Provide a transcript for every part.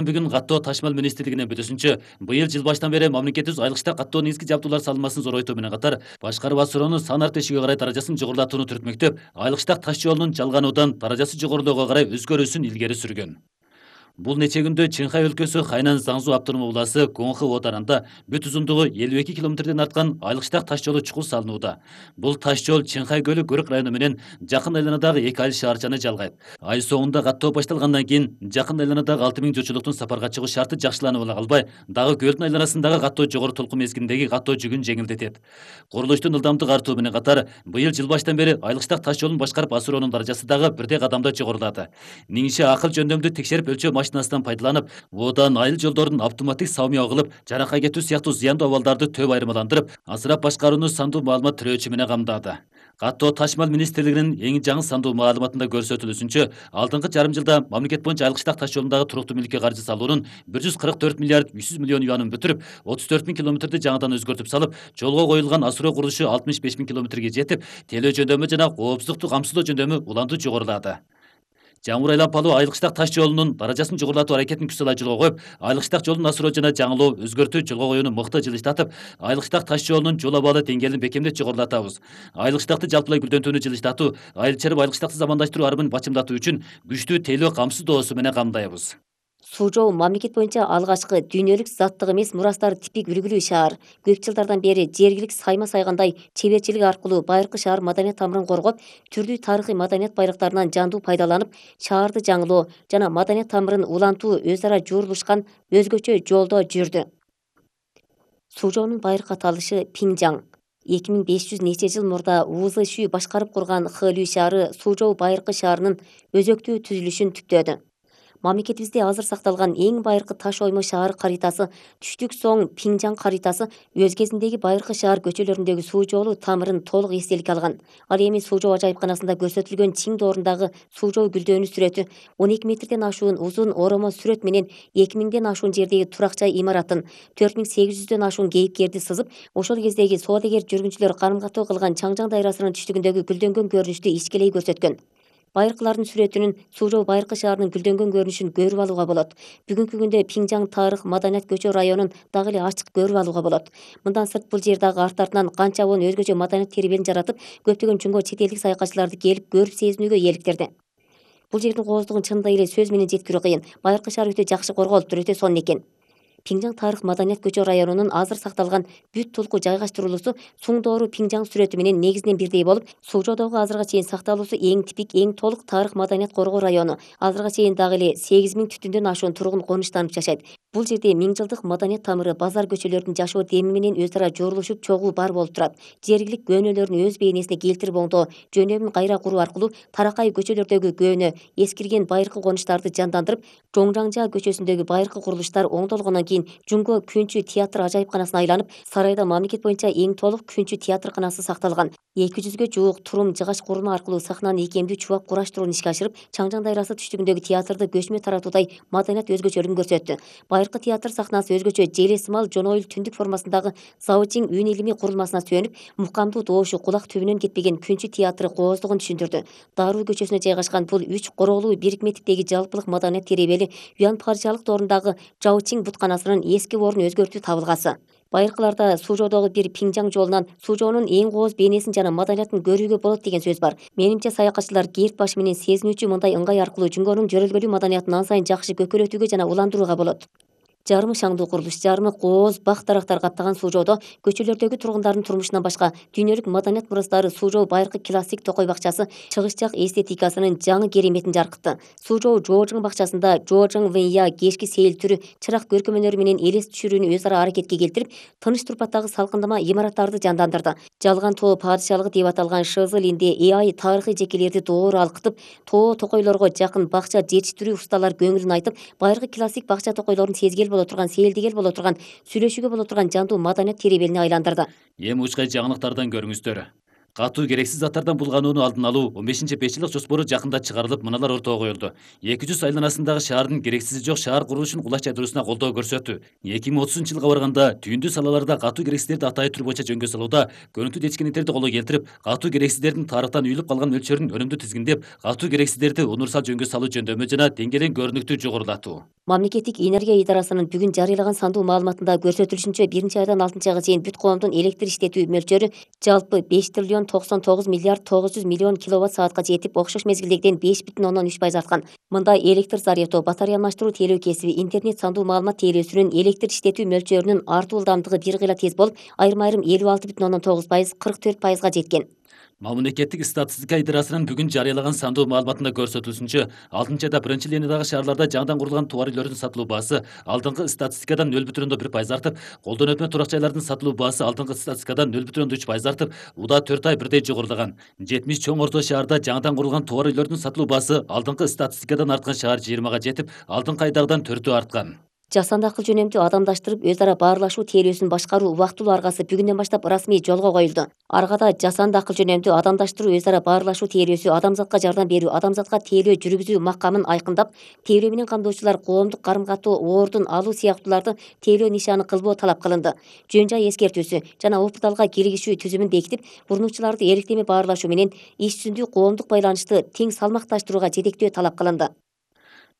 Бүгүн каттоо ташмал министрлигинин бүтүсүнчө быйыл жыл башынан бери мамлекетибиз айылкычта каттоо негизги жабдуулар салынмасын зоройтуу менен катар башкарып асуроонун сан артышыга карай даражасын жогорулатууну түртмөктөп, айылкычтак таш жолунун жалгануудан даражасы жогорулоого карай өзгөрүүсүн илгери сүргөн. Бул нече күндө Чыңхай өлкөсү Хайнан Заңзу автономдук областы Коңхы отарында бүт узундугу 52 километрден арткан айылкычтак таш жолу чукул салынууда. Бул таш жол Чыңхай көлү Көрөк району менен жакын айланадагы эки айыл шаарчаны жалгайт. Ай соңунда каттоо башталгандан кийин жакын айланадагы 6000 журтчулуктун сапарга чыгуу шарты жакшыланып ала калбай, дагы көлдүн айланасындагы каттоо жогору толкун мезгилиндеги каттоо жүгүн жеңилдетет. Курулуштун ылдамдык артуу менен катар быйыл жыл баштан бери айылкычтак таш жолун башкарып асыроонун даражасы дагы бирдей кадамда жогорулады. Ниңше акыл жөндөмдү текшерип өлчөө машинасынан пайдаланып, одан айыл жолдорун автоматтик саумия кылып, жаракай кетүү сыяктуу зыяндуу абалдарды төп айырмаландырып, асырап башкарууну сандуу маалымат тирөөчү менен камдады. Каттоо ташмал министрлигинин эң жаңы сандуу маалыматында көрсөтүлүшүнчө, алдыңкы жарым жылда мамлекет боюнча айылкычтак таш жолундагы туруктуу мүлккө каржы салуунун 144 миллиард 300 миллион юанын бүтүрүп, 34 миң километрди жаңыдан өзгөртүп салып, жолго коюлган асыроо курулушу 65 миң километрге жетип, телөө жөндөмү жана коопсуздукту камсыздоо жөндөмү уланды жогорулады. Жамбыр айлампалуу айылкычтак таш жолунун даражасын жогорулатуу аракетин күч сала жолго коюп, айылкычтак жолдун асыроо жана жаңылоо, өзгөртүү, жолго коюуну мыкты жылыштатып, айылкычтак таш жолунун жол абалы деңгээлин бекемдеп жогорулатабыз. Айылкычтакты жалпылай гүлдөнтүүнү жылыштатуу, айыл чарып айылкычтакты замандаштыруу арбын бачымдатуу үчүн күчтүү тейлөө камсыздоосу менен камдайбыз. Суу жол мамлекет боюнча алгачкы дүйнөлүк заттык эмес мурастар типик үлгүлүү шаар. Көп жылдардан бери жергилик сайма сайгандай чеберчилик аркылуу байыркы шаар маданият тамырын коргоп, түрдүү тарыхый маданият байлыктарынан жандуу пайдаланып, шаарды жаңылоо жана маданият тамырын улантуу өз ара жуурулушкан өзгөчө жолдо жүрдү. Суу жолунун байыркы аталышы Пиңжаң. 2500 нече жыл мурда Узы Шүй башкарып курган Хэлүү шаары Суу жол байыркы шаарынын өзөктүү түзүлүшүн түптөдү. Мамлекетибизде азыр сакталган эң байыркы таш оймо шаар каритасы түштүк соң Пиңжаң каритасы өз кезиндеги байыркы шаар көчөлөрүндөгү суу жолу тамырын толук эстеликке алган. Ал эми суу жол ажайыпканасында көрсөтүлгөн чиң доорундагы суу жол гүлдөөнү сүрөтү 12 метрден ашуун узун оромо сүрөт менен 2000ден ашуун жердеги турак жай имаратын, 4800дөн ашуун кейипкерди сызып, ошол кездеги соодагер жүргүнчүлөр карым катуу кылган Чаңжаң дайрасынын түштүгүндөгү гүлдөнгөн көрүнүштү ичкелей көрсөткөн. Байыркылардын сүрөтүнүн Суу жол байыркы шаарынын гүлдөнгөн көрүнүшүн көрүп алууга болот. Бүгүнкү күндө Пиңжаң тарых маданият көчө районун дагы эле ачык көрүп алууга болот. Мындан сырт бул жер дагы арт-артынан канча обон өзгөчө маданият теребелин жаратып, көптөгөн жунго чет элдик саякатчыларды келип көрүп сезинүүгө ийгиликтерди. Бул жердин кооздугун чындыгы эле сөз менен жеткирүү кыйын. Байыркы шаар өтө жакшы корголуптур, өтө сонун экен. Пиңжаң тарых маданият көчө районунун азыр сакталган бүт тулку жайгаштырылуусу Суңдоору Пиңжаң сүрөтү менен негизинен бирдей болуп, Суу жолдогу азыркыга чейин сакталуусу эң типик, эң толук тарых маданият коргоо району. Азыркыга чейин дагы эле 8000 түтүндөн ашуун тургун конуштанып жашайт. Бул жерде миң жылдык маданият тамыры базар көчөлөрдүн жашоо деми менен өз ара жуурулушуп чогуу бар болуп турат. Жергилик көөнөлөрүн өз бейнесине келтирип оңдоо, жөнөмүн кайра куруу аркылуу таракай көчөлөрдөгү көөнө, эскирген байыркы конуштарды жандандырып, Жоңжаңжа көчөсүндөгү байыркы курулуштар оңдолгондон кийин Жунго Күнчү театр ажайыпканасына айланып, сарайда мамлекет боюнча эң толук Күнчү театрканасы сакталган. 200гө жуук турум жыгач курулма аркылуу сахнаны ийкемдүү чубап кураштырууну ишке ашырып, Чаңжаң дайрасы түштүгүндөгү театрды көчмө таратуудай маданият өзгөчөлүгүн көрсөттү. Байыркы театр сахнасы өзгөчө желе сымал жонойыл түндүк формасындагы Заочиң үн илимий курулмасына сүйөнүп, мукамдуу доошу кулак түбүнөн кетпеген Күнчү театры кооздугун түшүндүрдү. Даруу көчөсүнө жайгашкан бул 3 короолуу бирикме типтеги жалпылык маданият теребели Юан Парчалык доорундагы Жаочиң бутканасынын эски орун өзгөртүү табылгасы. Байыркыларда Суу жолдогу бир Пиңжаң жолунан Суу жоонун эң кооз бейнесин жана маданиятын көрүүгө болот деген сөз бар. Менимче саякатчылар кээрт башы менен сезинүүчү мындай ыңгай аркылуу Жунгонун жөрөлгөлүү маданиятын ан сайын жакшы көкөлөтүүгө жана уландырууга болот. Жарымы шаңдуу курулуш, жарымы кооз бак дарактар каптаган Суу жолдо көчөлөрдөгү тургундардын турмушунан башка дүйнөлүк маданият мурастары Суу жол байыркы классик токой бакчасы чыгыш жак эстетикасынын жаңы кереметин жаркытты. Суу жол Жоожың бакчасында Жоожың Вэнья кечки сейил түрү чырак көркөмөнөрү менен элес түшүрүүнү өз ара аракетке келтирип, тыныч турпаттагы салкындама имараттарды жандандырды. Жалган тоо падышалыгы деп аталган Шызылинде Ай тарыхый жекелерди доору алкытып, тоо токойлорго жакын бакча жетиштирүү усталар көңүлүн айтып, байыркы классик бакча токойлорун сезгел боло турган, сейилдигел боло турган, сүйлөшүүгө боло турган жандуу маданият теребелине айландырды. Эми учкай жаңылыктардан көрүңүздөр. катуу керексиз заттардан булганууну алдын алуу 15-5 жылдык жоспору жакында чыгарылып, мыналар ортого коюлду. 200 айланасындагы шаардын керексизи жок шаар курулушун кулач жайдыруусуна колдоо көрсөтүү. 2030-жылга барганда түйүндүү салаларда катуу керексиздерди атайы түр боюнча жөнгө салууда көрүнүктүү жетишкендиктерди колго келтирип, катуу керексиздердин тарыхтан үйүлүп калган мөлчөрүн өнүмдүү тизгиндеп, катуу керексиздерди универсал жөнгө салуу жөндөмү жана деңгээлин көрүнүктүү жогорулатуу. Мамлекеттик энергия идарасынын бүгүн жарыялаган сандуу маалыматында көрсөтүлүшүнчө 1-айдан 6-айга чейин бүт коомдун электр иштетүү мөлчөрү жалпы 5 триллион 99 миллиард 900 миллион киловатт саатка жетип, окшош мезгилдегиден 5,3% арткан. Мындай электр зарядоо, батарея алмаштыруу тейлөө кесиби, интернет сандуу маалымат тейлөөсүнүн электр иштетүү мөлчөрүнүн артуу ылдамдыгы бир кыйла тез болуп, айрым 56,9%, 44%га жеткен. Мамлекеттик статистика идарасынын бүгүн жарыялаган сандуу маалыматында көрсөтүлүшүнчө, 6-айда биринчи линиядагы шаарларда жаңыдан курулган товар үйлөрдүн сатылуу баасы алдыңкы статистикадан 0,1% артып, колдон өтмө турак жайлардын сатылуу баасы алдыңкы статистикадан 0,3% артып, уда 4 ай бирдей жогорулаган. 70 чоң орто шаарда жаңыдан курулган товар үйлөрдүн сатылуу баасы алдыңкы статистикадан арткан шаар 20 жетип, алдыңкы айдагыдан 4 арткан. Жасанды акыл жөнөмдүү адамдаштырып, өз ара баарлашуу тейлөөсүн башкаруу убактылуу аргасы бүгүндөн баштап расмий жолго коюлду. Аргада жасанды акыл жөнөмдүү адамдаштыруу, өз ара баарлашуу тейлөөсү адамзатка жардам берүү, адамзатка тейлөө жүргүзүү макамын айкындап, тейлөө менен камдоочулар коомдук карым-катоо ордун алуу сыяктууларды тейлөө нишаны кылбоо талап кылынды. Жөн жай эскертүүсү жана опыталга киргизүү түзүмүн бекитип, бурнучуларды эрктеме баарлашуу менен иш жүзүндө коомдук байланышты тең салмакташтырууга жетектөө талап кылынды.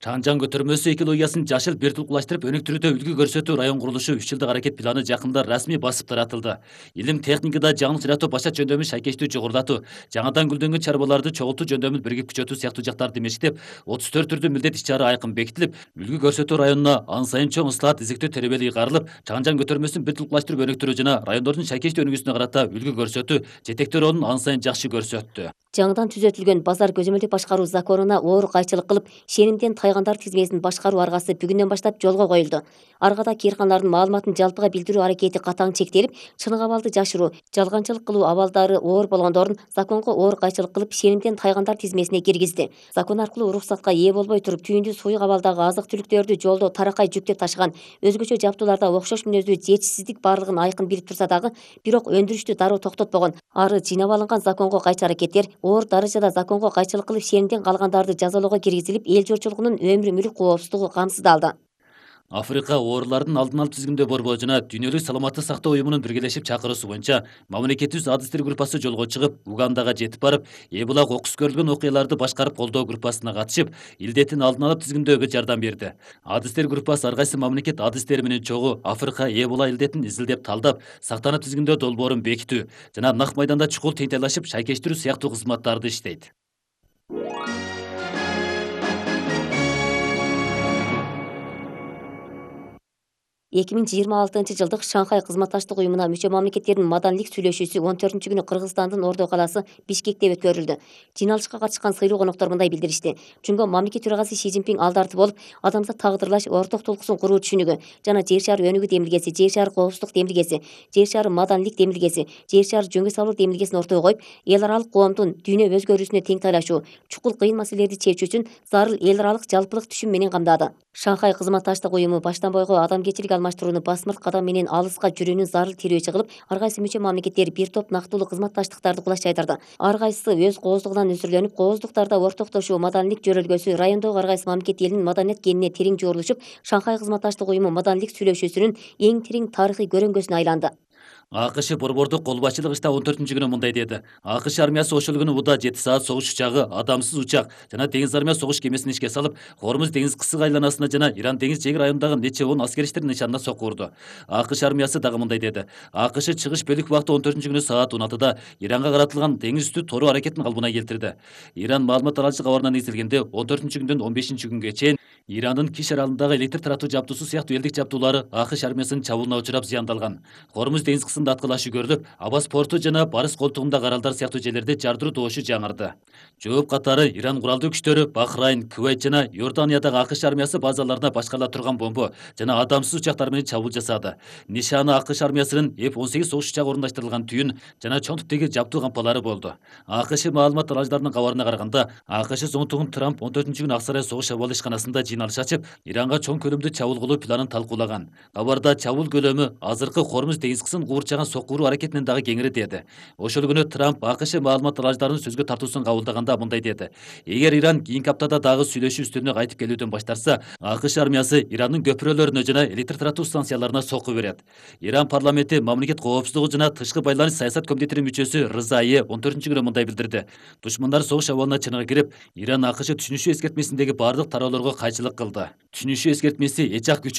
Чаңжаң көтөрмөсү экологиясын жашыл бертулкулаштырып өнүктүрүүдө үлгү көрсөтүү район курулушу 3 жылдык аракет планы жакында расмий басып таратылды. Илим техникада жаңылык жаратуу башат жөндөмү шайкештүү жогорулатуу, жаңадан гүлдөнгөн чарбаларды чогултуу жөндөмүн биригип күчөтүү сыяктуу жактарды мешиттеп, 34 түрдүү милдет иш-чара айкын бекитилип, үлгү көрсөтүү районуна ан сайын чоң ыслаат изиктөө теребели ыйгарылып, Чаңжаң көтөрмөсүн бертулкулаштырып өнүктүрүү жана райондордун шайкештүү өнүгүүсүнө карата үлгү көрсөтүү жетектөө ролун ан сайын жакшы көрсөттү. Жаңыдан түзөтүлгөн базар көзөмөлдү башкаруу законуна оор кайчылык кылып, шенимден тайгандар тизмесин башкаруу аргасы бүгүндөн баштап жолго коюлду. Аргада кыйрканалардын маалыматын жалпыга билдирүү аракети катаң чектелип, чынык абалды жашыруу, жалганчылык кылуу абалдары оор болгондорун законго оор кайчылык кылып, шенимден тайгандар тизмесине киргизди. Закон аркылуу уруксатка ээ болбой туруп, түйүндүү суюк абалдагы азык-түлүктөрдү жолдо таракай жүктөп ташыган, өзгөчө жабдууларда окшош мүнөздүү жетишсиздик барлыгын айкын билип турса дагы, бирок өндүрүштү дароо токтотпогон. Ары жыйнап алынган законго кайчы аракеттер оор даражада законго кайчылык кылып, шенимден калгандарды жазалоого киргизилип, эл журтчулугунун өмүр мүлк коопсуздугу камсыздалды. Африка оорулардын алдын алуу тизгиндөө борбору жана Дүйнөлүк саламаттык сактоо уюмунун биргелешип чакыруусу боюнча мамлекеттибиз адистер группасы жолго чыгып, Угандага жетип барып, Эбола окус көрүлгөн окуяларды башкарып колдоо группасына катышып, илдеттин алдын алып тизгиндөөгө жардам берди. Адистер группасы ар кайсы мамлекет адистери менен чогуу Африка Эбола илдетин изилдеп талдап, сактанып тизгиндөө долбоорун бекитүү жана нак майданда чукул тентайлашып шайкештирүү сыяктуу кызматтарды иштейт. 2026-жылдык Шанхай кызматташтык уюмуна мүчө мамлекеттердин маданилик сүйлөшүүсү 14-күнү Кыргызстандын Ордо калаасы Бишкекте өткөрүлдү. Жыйналышка катышкан сыйлуу коноктор мындай билдиришти. Жөнгө мамлекет төрагасы Си Цзиньпин алдарты болуп, адамзат тагдырлаш орток толкусун куруу түшүнүгү жана жер шары өнүгүү демилгеси, жер шары коопсуздук демилгеси, жер шары маданилик демилгеси, жер шары жөнгө салуу демилгесин ортого коюп, эл аралык коомдун дүйнө өзгөрүүсүнө тең тайлашуу, чукул кыйын маселелерди чечүү үчүн зарыл эл аралык жалпылык түшүм менен камдады. Шанхай кызматташтык уюму баштан бойго адамгерчилик алмаштырууну басмырт кадам менен алыска жүрүүнүн зарыл тирөөчү кылып, ар кайсы мүчө мамлекеттер бир топ нактылуу кызматташтыктарды кулаш жайдырды. Ар кайсысы өз кооздугунан өзүрлөнүп, кооздуктарда ортоктошуу, маданилик жөрөлгөсү райондогу ар кайсы мамлекет элинин маданият кенине терең жорулушуп, Шанхай кызматташтык уюму маданилик сүйлөшүүсүнүн эң терең тарыхый көрөңгөсүнө айланды. АКШ борбордук кол башчылык иште 14-күнү мындай деди. АКШ армиясы ошол күнү уда 7 саат согуш учагы, адамсыз учак жана деңиз армия согуш кемесин ишке салып, Хормуз деңиз кысык айланасына жана Иран деңиз жээги районундагы нече он аскериштердин нышанына сокку урду. АКШ армиясы дагы мындай деди. АКШ чыгыш бөлүк убакыты 14-күнү саат 16-да Иранга каратылган деңиз үстү тору аракетин калыбына келтирди. Иран маалымат алуучу кабарына негизделгенде 14-күндөн 15-күнгө чейин Ирандын Киш аралындагы электр таратуу жабдуусу сыяктуу элдик жабдуулары АКШ армиясынын чабуулуна учурап зыяндалган. Хормуз деңиз кысымында аткылашуу көрүлүп, Абас порту жана Барыс колтугундагы аралдар сыяктуу жерлерде жардыруу добушу жаңырды. Жооп катары Иран куралдуу күчтөрү Бахрайн, Кувейт жана Иорданиядагы АКШ армиясы базаларына башкарыла турган бомбо жана адамсыз учактар менен чабуул жасады. Нишаны АКШ армиясынын F-18 согуш учагы орундаштырылган түйүн жана чоң типтеги жабдуу кампалары болду. АКШ маалымат алуучуларынын кабарына караганда, АКШ зондугун Трамп 14-күнү Ак сарай согуш абалы ишканасында жыйналыш ачып, Иранга чоң көлөмдүү чабуул кылуу планын талкуулаган. Кабарда чабуул көлөмү азыркы Хормуз деңиз кысын куур капчаган сокку уруу аракетинен дагы кеңири деди. Ошол күнү Трамп АКШ маалымат алаждарын сөзгө тартуусун кабылдаганда мындай деди: эгер Иран кийинки аптада дагы сүйлөшүү үстөлүнө кайтып келүүдөн баштарса, АКШ армиясы Ирандын көпүрөлөрүнө жана электр таратуу станцияларына сокку берет. Иран парламенти мамлекет коопсуздугу жана тышкы байланыш саясат комитетинин мүчөсү Рызайы 14-күнү мындай билдирди: душмандар согуш абалына чыныгы кирип, Иран АКШ түшүнүшү эскертмесиндеги бардык тараалоорго кайчылык кылды. Түшүнүшү эскертмеси эч ак күчү